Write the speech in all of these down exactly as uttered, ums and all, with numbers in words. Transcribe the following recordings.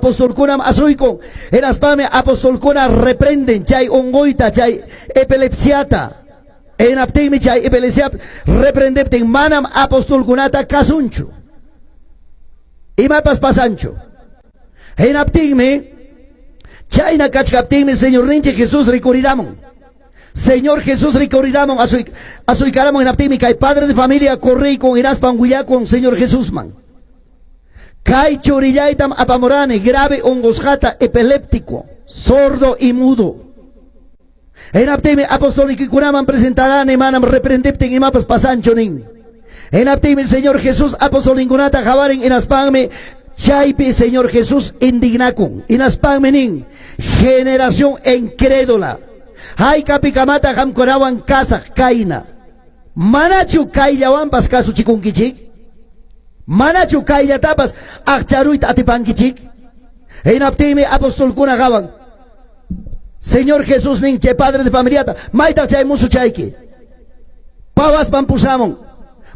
Apostolkunam asuykun. Hinaspami apostolkuna reprenden chay unquyta, chay epilepsiata. Hinaptinmi chay epilepsia reprendeptin manam apostolkunata kasunchu. Imapas pasanchu. Hinaptinmi chayna kachkaptinmi Señorninchik Jesús rikuriramun. Señor Jesús rikuriramun asuy asuykaramun hinaptinmi kay padre de familia corriykun hinaspan willakun Señor Jesusman. Kay churillaytam apamurani grave unqusqata epiléptico, sordo y mudo. Hinaptinmi apostolikikunaman presentarani manam reprendiptin imapas pasanchu nin. Hinaptinmi Señor Jesús apostolinkunata qawarin hinaspanmi chaypi Señor Jesús indignakun. Hinaspanmi nin generación incrédula. Haykapikamata qamkunawan kasaq kayna. Manachu kayllawanpas kasuchikunkichik? Manachu kayllatapas aqcharuyta atipankichik? Hinaptinmi apostolkuna qawan. Señor Jesús nin chay padre de familiata, maytaq chay musuchayki. Pawaspan pusamun.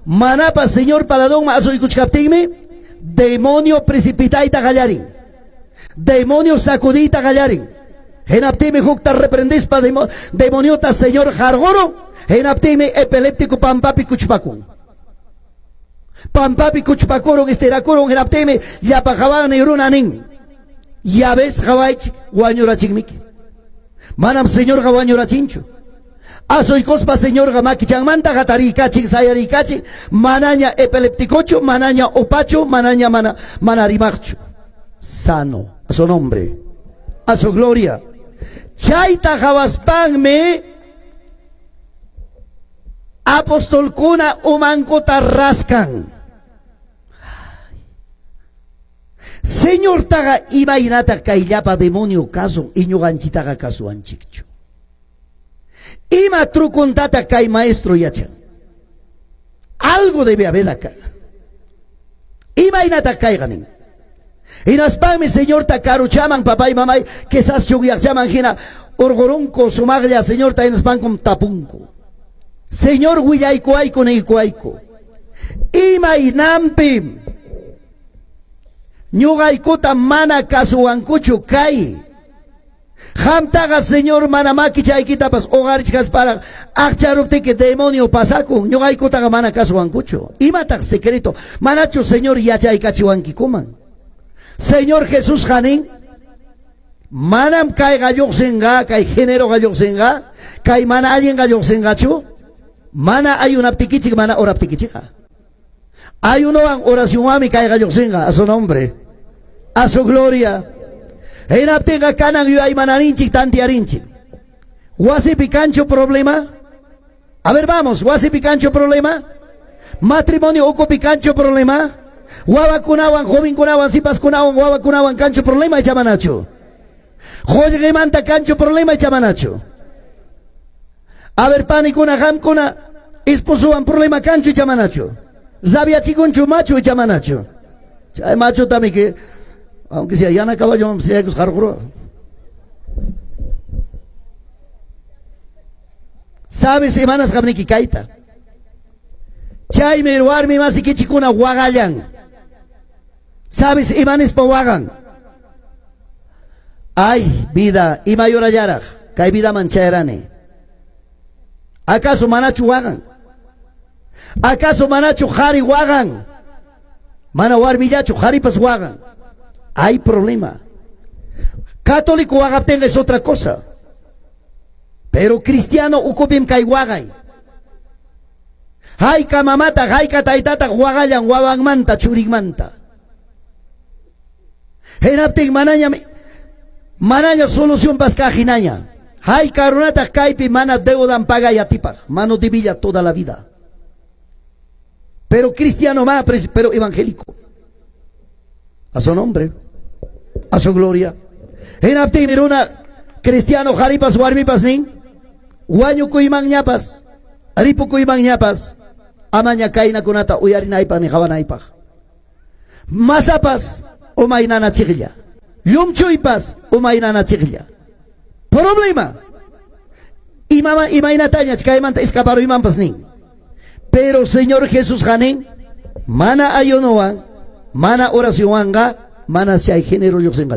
Manapas Señor paladonman asuykuchkaptinmi demonio precipitayta qallarin. Demonio sacudiyta qallarin. Hinaptinmi hukta reprendispa demo, demoniota Señor qarqurun. Hinaptinmi epiléptico pampapi kuchpakun. Pampapi kuchpakurun estirakurun hinaptinmi llapa qawani runa nin. Ya ves qawaychik wañurachikmiki. Manam Señorqa wañurachinchu. Asuykuspa Señorqa makichanmanta hatarikachin sayarikachin manaña epilépticochu, manaña upachu, manaña mana, mana rimaqchu. Sano, a su nombre, a su gloria. Chayta qawaspanmi apostolkuna umankuta raskan. Señortaqa imaynataq kayllapa demonio kasun iñuqanchitaqa kasuwanchikchu. Ima trukuntataq kay maestro yachan. Algo debe haber acá. Imaynataq kayqa nin. Hinaspanmi Señorta karuchaman papay mamay quizás chugyaqchaman hina urqurunku sumaqlla Señorta hinaspankum tapunku. Señor willaykuayku niykuayku. Imaynanpim ñuqaykuta mana kasuwankuchu kay. Qamtaqa Señor mana makichaykitapas uqarichkasparaq aqcharuptiki demonio pasakun ñuqaykutaqa mana kasuwankuchu. Imataq secreto? Manachu Señor yachaykachiwankikuman? Señor Jesús nin, manam kayqa lluqsinqa, kay géneroqa lluqsinqa, kay mana allinqa lluqsinqachu, mana ayunaptikichik, mana oraptikichikqa. Ayunowan oracionwanmi kayqa lluqsinqa, a su nombre, a su gloria. Hinaptinqa kanan yuyaymananchik tantiarinchik. Wasipi kanchu problema? A ver, vamos, wasipi kanchu problema? Matrimonio ukupi kanchu problema? Wawakunawan, jovenkunawan, sipaskunawan, wawakunawan kanchu problema icha manachu? Qullqimanta kanchu problema icha manachu? A ver, panikuna, qamkuna, esposowan problema kanchu icha manachu? Rabiachikunchu machu icha manachu? Chay machutami que aunque sea yana caballo, sea que sabes imanas qamniki kayta. Chaymi warmi masikichikuna waqallan. Sabes imanispa waqan. Ay, vida, imayurallaraq, kay vidaman chayrani. ¿Acaso manachu waqan? ¿Acaso manachu qhari waqan? Mana warmillachu qharipas waqan. Hay problema. Católico waqaptinqa es otra cosa. Pero cristiano ukupim kay waqay. Hayka mamata, hayka taytata waqallan wawanmanta churinmanta. Hinaptin manaña manaña solución pas kajinaña. Hayka runata kaypi mana deudan pagay atipaq, mano debilla toda la vida. Pero cristiano más, pero evangélico. A su nombre, a su gloria. Hinaptin runa cristiano qharipas warmipas nin, wañukuymanñapas, ripukuymanñapas, amaña kaynakunata uyarinaypaq ni qawanaypaq. Masapas umaynanachiqlla, llumchuypas umaynanachiqlla. Problema. Imama imaynataña kaymanta escaparuymanpas nin. Pero Señor Jesús nin, mana ayunowan, mana oracionwanqa, mana chay género lluqsinqa.